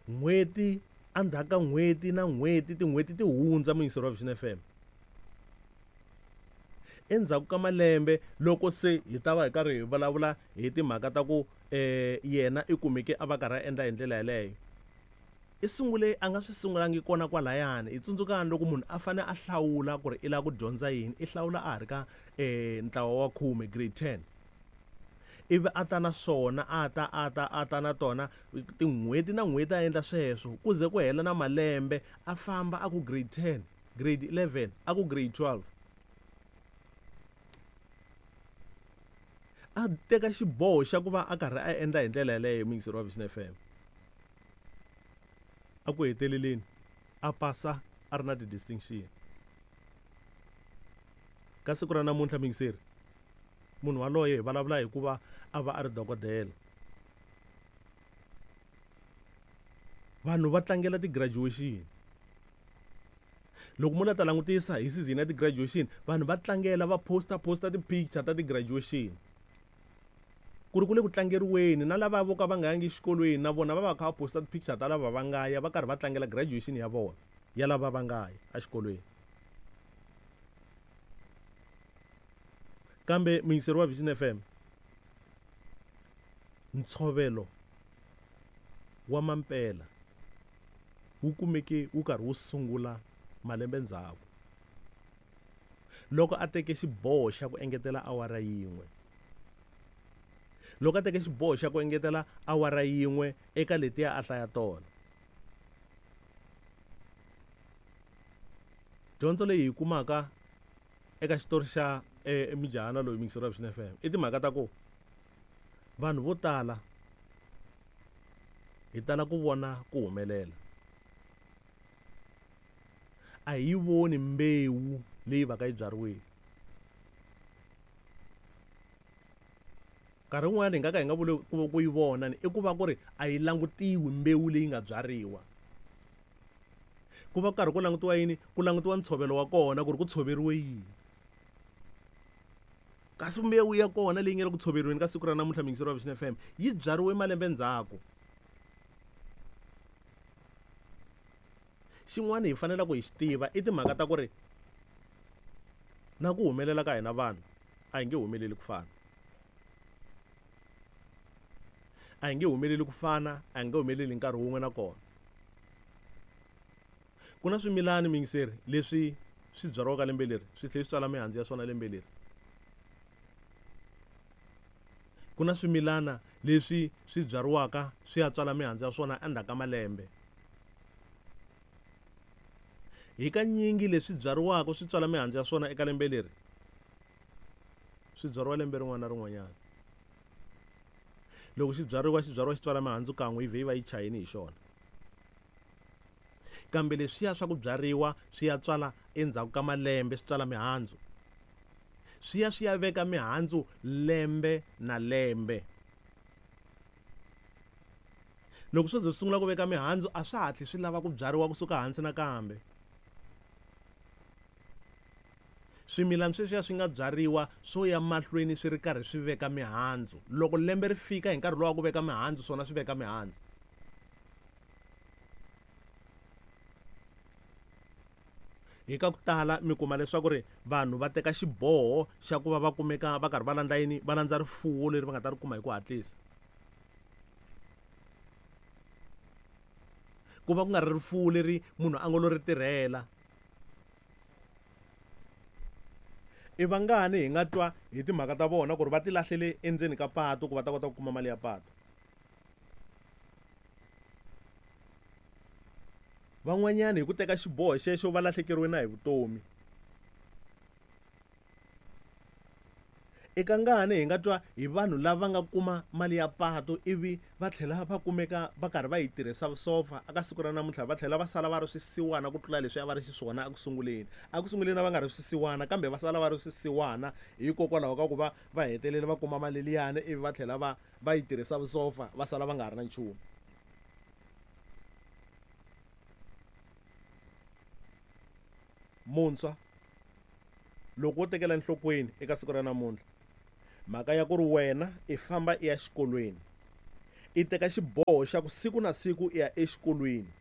N'hweti endzhaku ka n'hweti na n'hweti, tin'hweti ti hundza muyingiseri wa Vision FM. Endzhaku ka malembe loko se hi ta va hi karhi hi vulavula hi timhaka ta ku um yena i kumeke a va karhi a endla hi ndlela yeleyo. I sungule a nga swi sungulangi kona kwalayani. Hi tsundzukani loko munhu a fane a hlawula ku ri i lava ku dyondza yini, i hlawula a ha ri ka um ntlawa wa khume, grade ten. Ivi a ta na swona, a ta, a ta, a ta na tona tin'hweti na n'hweti a endla sweswo ku ze ku hela na malembe a famba a ku grade 10, grade 11, a ku grade 12. A teka xiboho xa ku va a karhi a endla hi ndlela yeleyo muyingiseri wa Vision FM. A ku heteleleni a pasa a ri na ti-distinction. Ka siku ra namuntlha muyingiseri, munhu waloye hi vulavula hi ku va a va a ri dokodela. Vanhu va tlangela ti-graduation. Loko mo la ta langutisa hi season ya ti-graduation, vanhu va tlangela va posta posta ti-picture ta ti-graduation. Ku ri ku le ku tlangeriweni na lava vo ka va nga yangi exikolweni na vona va va kha va posta ti-picture ta lava va nga ya va karhi va tlangela graduation ya vona ya lava va nga ya exikolweni. Kambe muyingiseri wa Vision FM, ntshovelo wa mampela wu kumeke wu karhi wu sungula malembe ndzhaku loko a teke xiboho xa ku engetela awara yin'we. Loko a teke xiboho xa ku engetela awara yin'we eka letiya a hlaya tona. Dyondzo leyi hi kumaka eka xitori xa eh, mujahana loyi muyingiseri wa Vision FM i timhaka ta ku vanhu vo tala hi tala ku vona ku humelela a hi yi voni mbewu leyi va ka yi byariwile nkarhi wun'wani hi nga ka hi nga vuli ku ku yi vona ni i ku va ku ri a yi langutiwi mbewu leyi nga byariwa ku va ku karhi ku langutiwa yini ku langutiwa ntshovelo wa kona ku ri ku tshoveriwe yini kasi mbewu ya kona leyi nga le ku tshoveriweni ka siku ra namuntlha muyingiseri wa Vision FM yi byariwe malembe ndzhaku xin'wana hi fanelaka hi xi tiva i timhaka ta ku ri na ku humelela ka hina vanhu a hi nge humeleli ku fana a hi nge humeleli ku fana a hi nge humeleli hi nkarhi wun'we na kona ku na swimilani muyingiseri leswi swi byariwaka lembe leri swi tlhela swi tswala mihandzu ya swona lembe leri ku na swimilana leswi swi byariwaka swi ya tswala mihandzu ya swona endzhaku ka malembe hi kanyingi leswi byariwaka swi tswala mihandzu ya swona eka lembe leri swi byariwa lembe rin'wana na rin'wanyana loko xi byariwa xi byariwa xi tswala mihandzu kan'we yi vhe yi va yi chayini hi xona kambe leswiya swa ku byariwa swi ya tswala endzhaku ka malembe swi tswala mihandzu swi ya swi ya veka mihandzu lembe na lembe loko swo ze swi sungula ku veka mihandzu a swa hatli swi lava ku byariwa kusuka hansi nakambe swimilana sweswiya swi nga byariwa swo ya mahlweni swi ri karhi swi veka mihandzu loko lembe ri fika hi nkarhi lowu wa ku veka mihandzu swona swi veka mihandzu hi ka ku tala mi kuma leswaku ri vanhu va teka xiboho xa ku va va kumeka va karhi va landza yini va landza rifuwo leri va nga ta ri kuma hi ku hatlisa ku va ku nga ri rifuwo leri munhu a ngo lo ri tirhela i vangani hi nga twa hi timhaka ta vona ku ri va ti lahlele endzeni ka patu ku va ta kota ku kuma mali ya patu Van'wanyana hi ku teka xiboho xexo va lahlekeriwe na hi vutomi. I kangani hi nga twa hi vanhu lava nga kuma mali ya patu ivi va tlhela va kumeka va karhi va yi tirhisa vusopfa aka siku ra namuntlha va tlhela va sala va ri swisiwana ku tlula leswi a va ri xiswona eku sunguleni. Eku sunguleni a va nga ri swisiwana kambe va sala va ri swisiwana hikokwalaho ka ku va va hetelele va kuma mali liyani ivi va tlhela va va yi tirhisa vusopfa va sala va nga ha ri na nchumu. Muntshwa loko wo tekela enhlokweni eka siku ra namuntlha mhaka ya ku ri wena i famba i ya xikolweni I teka xiboho xa ku siku na siku i ya exikolweni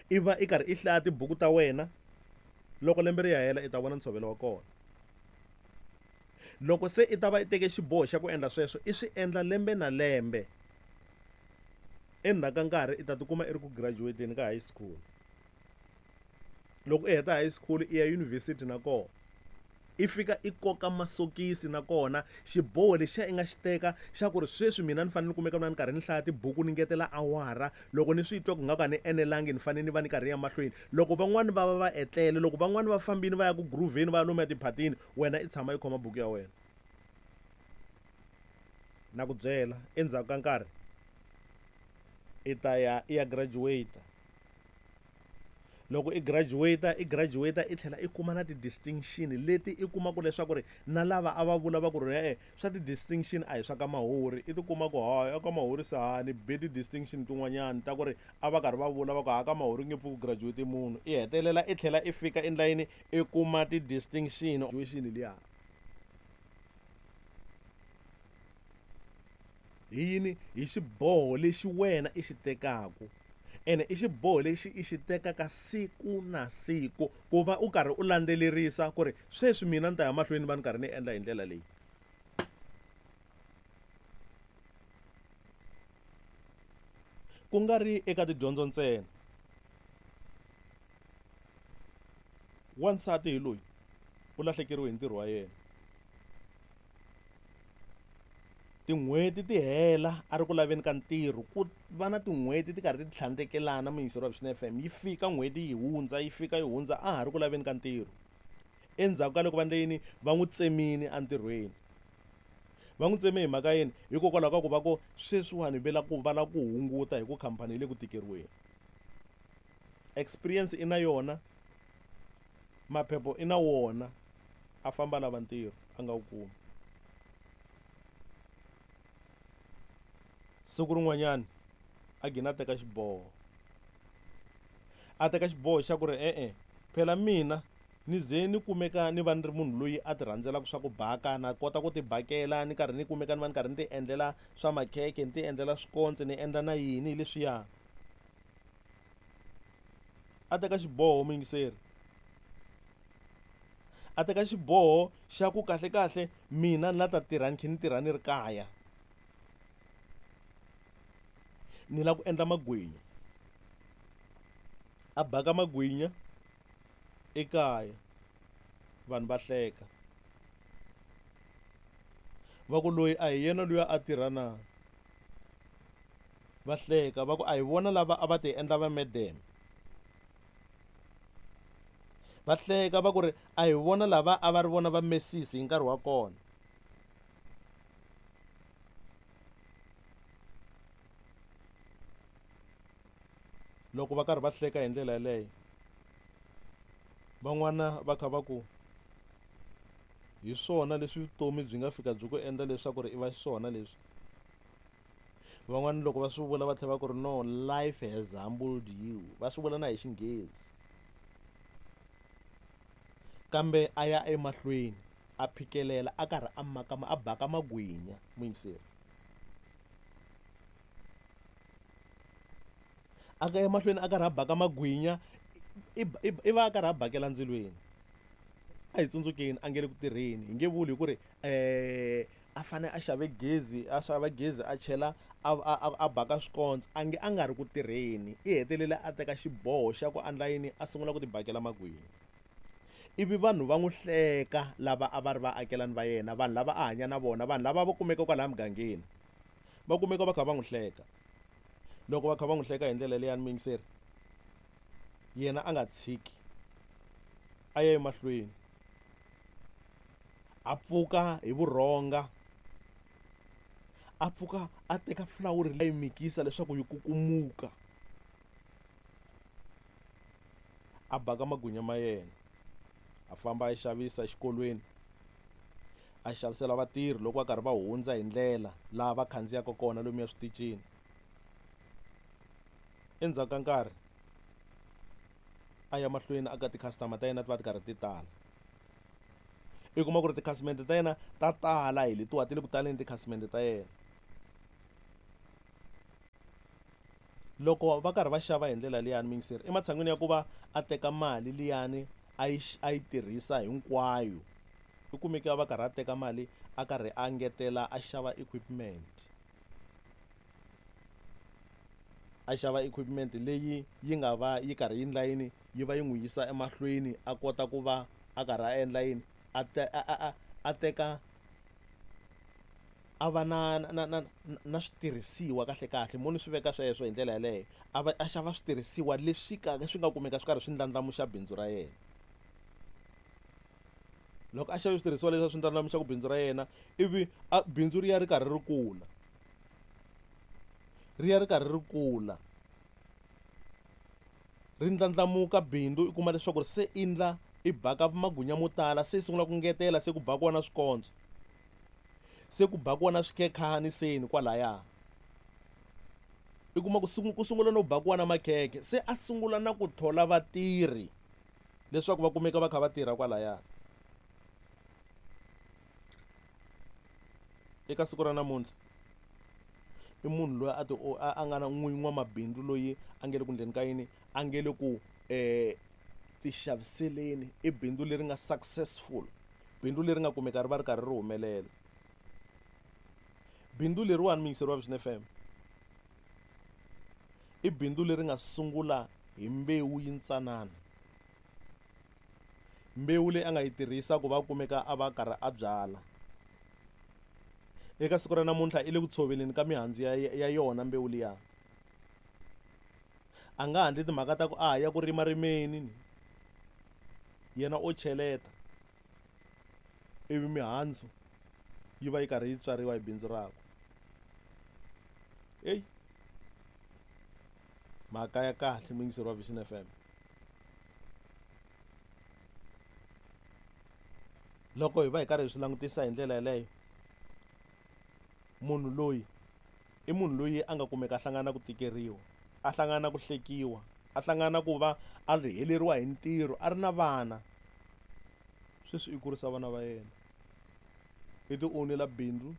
i va i karhi i hlaya tibuku ta wena loko lembe ri ya hela i ta vona ntshovelo wa kona. Loko se i ta va i teke xiboho xa ku endla sweswo i swi endla lembe na lembe, endzhaku ka nkarhi i ta tikuma i ri ku graduate-eni ka high school. Loko i heta high school i ya yunivhesiti na kona i fika i koka masokisi na kona xiboho lexiya i nga xi teka xa ku ri sweswi mina ni fanele ni kumeka na ni karhi ni hlaya tibuku ni ngetela awara loko ni swi twa ku nga ku a ni enelangi ni fanele ni va ni karhi ya mahlweni. Loko van'wani va va va etlele, loko van'wani va fambile va ya ku groove-eni va ya lomuya tiphatini, wena i tshama i khoma buku ya wena. Na ku byela endzhaku ka nkarhi i ta ya i ya graduate. Loko i graduate i graduate i tlhela i kuma na ti-distinction leti i kumaka leswaku ri na lava a va vula va ku ri e-e swa ti-distinction a hi swa ka Mahori i tikuma ku hayi a ka Mahori se ha ni be ti-distinction tin'wanyani ta ku ri a va karhi va vula va ku ha ka Mahori nge pfuki ku graduate munhu i hetelela i tlhela i fika endlayini i kuma ti-distinction graduation liya hi yini hi xiboho lexi wena i xi tekaku ene i xiboho lexi i xi tekaka siku na siku ku va u karhi u landzelerisa ku ri sweswi mina ni ta ya mahlweni va ni karhi ni endla hi ndlela leyi. Ku nga ri eka tidyondzo ntsena. Wansati hi loyi u lahlekeriwe hi ntirho wa yena. Tin'hweti ti hela a ri ku laveni ka ntirho ku va na tin'hweti ti karhi ti tlhandlekelana muyingiseri wa Vuxeni F_M yi fika n'hweti yi hundza yi fika yi hundza a ha ri ku laveni ka ntirho. Endzhaku ka loko va endle yini va n'wi tsemile entirhweni. Va n'wi tseme hi mhaka yini? Hikokwalaho ka ku va ku sweswiwani va la ku va lava ku hunguta hi ku khampani yi le ku tikeriweni. Experience i na yona, maphepha i na wona a famba a lava ntirho a nga wu kumi. Siku rin'wanyana a gina a teka xiboho a teka xiboho xa ku ri e-e phela mina ni ze ni kumeka ni va ni ri munhu loyi a ti rhandzelaka swa ku baka na kota ku ti bakela ni karhi ni kumeka ni va ni karhi ni ti endlela swa makhekhe ni ti endlela swikontsi ni endla na yini leswiya. A teka xiboho muyingiseri a teka xiboho xa ku kahlekahle mina ni la ta tirha ni khe ni tirha ni ri kaya ni lava ku endla magwinya a baka magwinya ekaya vanhu va hleka va ku loyi a hi yena luya a tirha na va hleka va ku a hi vona lava a va ti endla va medeme va hleka va ku ri a hi vona lava a va ri vona va mesisi hi nkarhi wa kona. Loko va karhi va hleka hi ndlela yeleyo van'wana va kha va ku hi swona leswi vutomi byi nga fika byi ku endla leswaku ri i va xiswona leswi. Van'wana loko va swi vula va tlhela va ku ri no life has humbled you va swi vula na hi xinghezi kambe a ya emahlweni a phikelela a karhi a maka a baka magwinya muyingiseri a ka emahlweni a karhi a baka magwinya i va a karhi a bakela ndzilweni a hi tsundzukeni a nge le ku tirheni hi nge vuli hi ku ri a fane a xave gezi a xava gezi a chela a a a baka swikontso a nge a nga ri ku tirheni i hetelele a teka xiboho xa ku endla yini a sungula ku ti bakela magwinya ivi vanhu va n'wi hleka lava a va ri vaakelani va yena vanhu lava a hanya na vona vanhu lava va kumeka kwalaya mugangeni va kumeka va kha va n'wi hleka loko va kha va n'wi hleka hi ndlela leyani muyingiseri yena a nga tshiki a ya emahlweni a pfuka hi vurhonga a pfuka a teka fulawuri a yi mikisa leswaku yi kukumuka a baka magwinya ma yena a famba a yi xavisa exikolweni a xavisela vatirhi loko va karhi va hundza hi ndlela laha va khandziyaka kona lomuya switichini. Endzhaku ka nkarhi a ya mahlweni a ka ti-customer ta yena ti va ti karhi ti tala i kuma ku ri tikhasimende ta yena ta tala hi letiwa ti le ku taleni tikhasimende ta yena. Loko va karhi va xava hi ndlela liyani muyingiseri ematshan'wini ya ku va a teka mali liyani a yi a yi tirhisa hinkwayo u kumeke a va karhi a teka mali a karhi a ngetela a xava equipment. A xava equipment leyi yi nga va yi karhi yi endla yini yi va yi n'wi yisa emahlweni a kota ku va a karhi a endla yini a a a teka a va na na na na switirhisiwa kahle kahle mo ni swi veka sweswo hi ndlela yaleyo a va a xava switirhisiwa leswi ka swi nga kumeka swi karhi swi ndlandlamuxa bindzu ra yena. Loko a xave switirhisiwa leswi a swi ndlandlamuxaka bindzu ra yena ivi a bindzu ri ya ri karhi ri kula ri ya ri karhi ri kula ri ndlandlamuka bindzu i kuma leswaku se i ndla i baka magwinya mo tala se i sungula ku ngetela se ku bakiwa na swikondzo se ku bakiwa na swikhekhani seni kwalaya i kuma ku ku sungula no bakiwa na makhekhe se a sungula na ku thola vatirhi leswaku va kumeka va kha va tirha kwalaya. Eka siku ra namuntlha i munhu loyi a ti a nga na n'winyi n'wamabindzu loyi a nge le ku endleni ka yini a nge le ku tixaviseleni i bindzu leri nga successful bindzu leri nga kumeka ri va ri karhi ri humelela. Bindzu leriwani muyingiseri wa Vision F_M i bindzu leri nga sungula hi mbewu yintsanana mbewu leyi a nga yi tirhisa ku va a kumeka a va a karhi a byala. Eka siku ra namuntlha i le ku tshoveleni ka mihandzu ya ya yona mbewu liya. A nga ha endli timhaka ta ku a ha ya ku rimarimeni ni yena o cheleta ivi mihandzu yi va yi karhi yi tswariwa hi bindzu rakwe. Heyi mhaka ya kahle muyingiseri wa Vision F_M. Loko hi va hi karhi hi swi langutisa hi ndlela yeleyo munhu loyi i munhu loyi a nga kumeka a hlangana na ku tikeriwa a hlangana na ku hlekiwa a hlangana na ku va a ri heleriwa hi ntirho a ri na vana sweswi i kurisa vana va yena i ti own-ela bindzu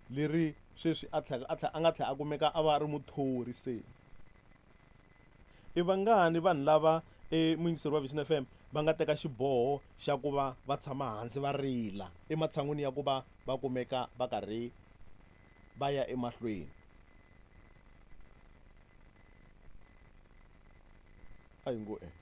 leri sweswi a tlhela a tlhela a nga tlhela a kumeka a va a ri muthori se. I vangani vanhu lava muyingiseri wa Vision F_M va nga teka xiboho xa ku va va tshama hansi va rila ematshan'wini ya ku va va kumeka va karhi va ya emahlweni. A hi ngo e.